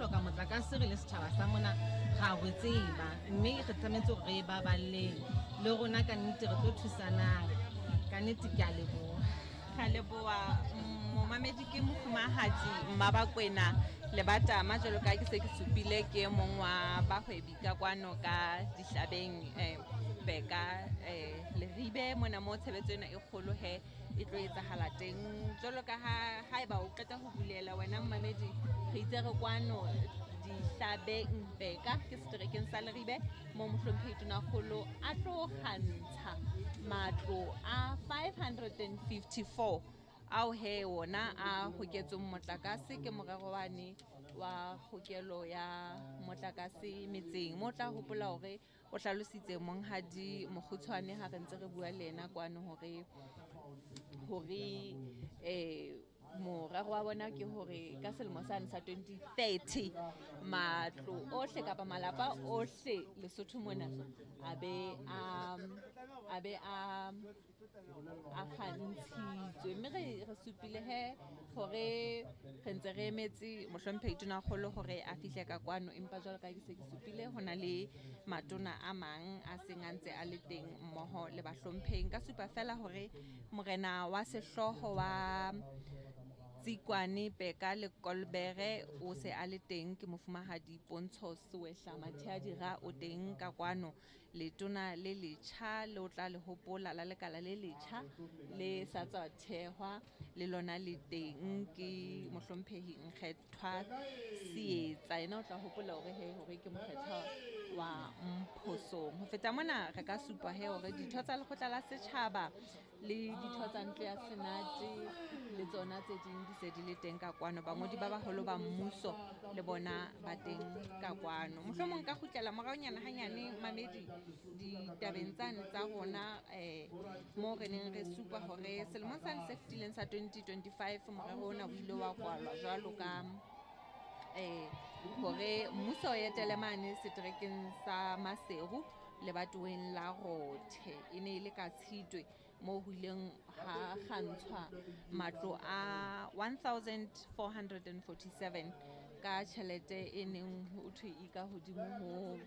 hloka motlakase re le setjhaba sa mona, ra ho tseba, mme re tlametse hore re e baballeng le rona. Ka nnete re tlo thusanang, ka nnete ke a leboha. Ra leboha, momamedi. Ke mofumahadi Mmabakwena Lebatama, jwalo ka ke se ke supile, ke e mong wa bahwebi ka kwano ka Dihlabeng, Beka, Leribe mona, mo tshebetso ena e kgolo he e tlo etsahala teng. Jwalo ka ha haeba o qeta ho bulela wena momamedi, re itse re kwano Dihlabeng Beka, ke seterekeng sa Leribe, mo mohlomphehi tonakgolo a tlo kgantsha matlo a 554 ao he wona a hoketsweng motlakase ke morero wane wa kgokelo ya motlakase metseng. Mo tla hopola hore o hlalositse monghadi Mokgutshwane ha re ntse re bua le yena kwano hore morero wa bona ke hore ka selemo sane sa 2030 matlo ohle kapa malapa ohle Lesotho mona a be a kgantshitswe. Mme re supile he hore re ntse re emetse mohlomphehi tonakgolo hore a fihle ka kwano, empa jwalo ka ke se ke supile, ho na le matona a mang a seng a ntse a le teng mmoho le bahlomphehi. Nka supa fela hore morena wa sehlooho wa Tsikwane Peka le Kolbere o se a le teng, ke mofumahadi Pontsho Sewehla Matheadira, o teng ka kwano. Letona le letjha le o tla le hopola la lekala le letjha le sa tswa thehwa le lona le teng, ke mohlomphehi Nkgethwa Seetsa. Yena o tla hopola hore he hore ke mokgethwa wa Mphosong. Ho feta mona, re ka supa he hore ditho tsa lekgotla la setjhaba le ditho tsa ntlo ya senate le tsona tse ding di se di le teng ka kwano. Bangodi ba baholo ba mmuso le bona ba teng ka kwano. Mohlomong ka kgutlela moraonyana hanyane, mamedi, ditabeng tsane tsa rona, mo re neng re supa hore selemong sane se fetileng sa 2025 morero ona o ile wa kwalwa jwalo ka hore mmuso o etele mane seterekeng sa Maseru lebatoweng la Rothe. E ne e le ka Tshitwe moo ho ileng ha kgantshwa matlo a 1447 ka tjhelete e neng ho thwe e ka hodimo ho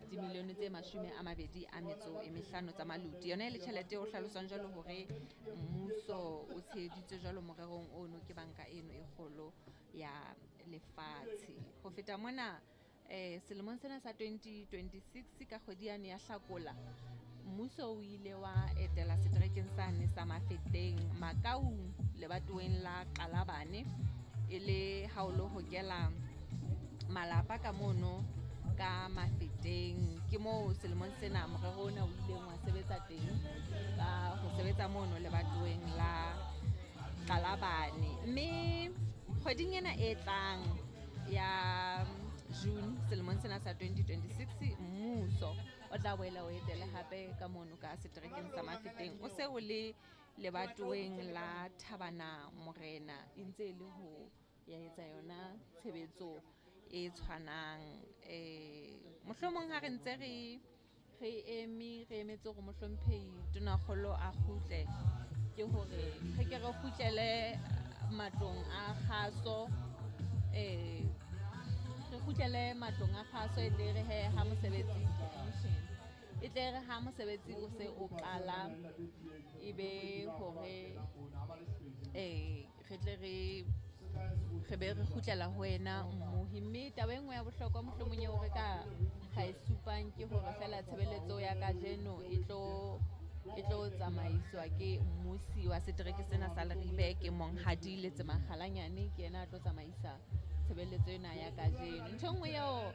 dimilione tse 25 tsa maluti. Yona e le tjhelete e o hlaloswang jwalo hore mmuso o tsheheditswe jwalo morerong ono ke banka eno e kgolo ya lefatshe. Ho feta mona, selemong sena sa 2026 ka kgwedi yane ya Hlakola, mmuso o ile wa etela seterekeng sane sa Mafeteng, Makaung, lebatoweng la Qalabane, e le ha o lo hokela malapa ka mono ka Mafeteng. Ke moo selemong sena morero ona o ileng wa sebetsa teng, ka ho sebetsa mono lebatoweng la Qalabane. Mme kgweding ena e tlang ya June selemong sena sa 2026, mmuso o tla boela o etele hape ka mono ka seterekeng sa Mafeteng, o se o le lebatoweng la Thabana Morena, e ntse e le ho ya etsa yona tshebetso e tshwanang. Mohlomong ha re ntse re eme, re emetse hore mohlomphehi tonakgolo a kgutle, ke hore re ke re kgutlele matlong a kgaso, re kgutlele matlong a kgaso, e tle re he ha mosebetsi e tle re ha mosebetsi o se o qala, e be hore re tle re be re kgutlela ho wena, mmohi. Mme taba e nngwe ya bohlokwa mohlomong eo re ka ra e supang ke hore feela tshebeletso ya kajeno e tlo tsamaiswa ke mmusi wa setereke sena sa Leribe, ke monghadi Letsema Kgalanyane, ke yena a tlo tsamaisa tshebeletso ena ya kajeno. Ntho e nngwe eo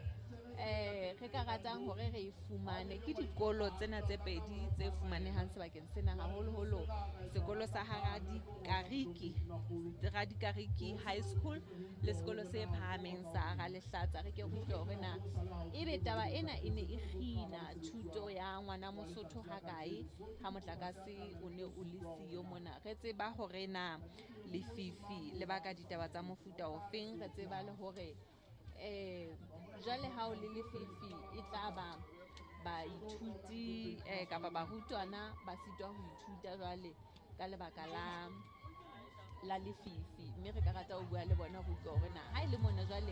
re ka ratang hore re e fumane ke dikolo tsena tse pedi tse fumanehang sebakeng sena, haholoholo sekolo sa ha Radikariki, Radikariki High School, le sekolo se phahameng sa Ralehlatsa. Re ke re utlwe hore na ebe taba ena e ne e kgina thuto ya ngwana Mosotho hakae ha motlakase o ne o le siyo mona. Re tseba hore na lefifi le baka ditaba tsa mofuta ofeng, re tseba le hore jwale ha o le lefifi e tla ba baithuti kapa barutwana ba sitwa ho ithuta jwale ka lebaka la lefifi. Mme re ka rata ho bua le bona ho utlwa hore na ha e le mona jwale.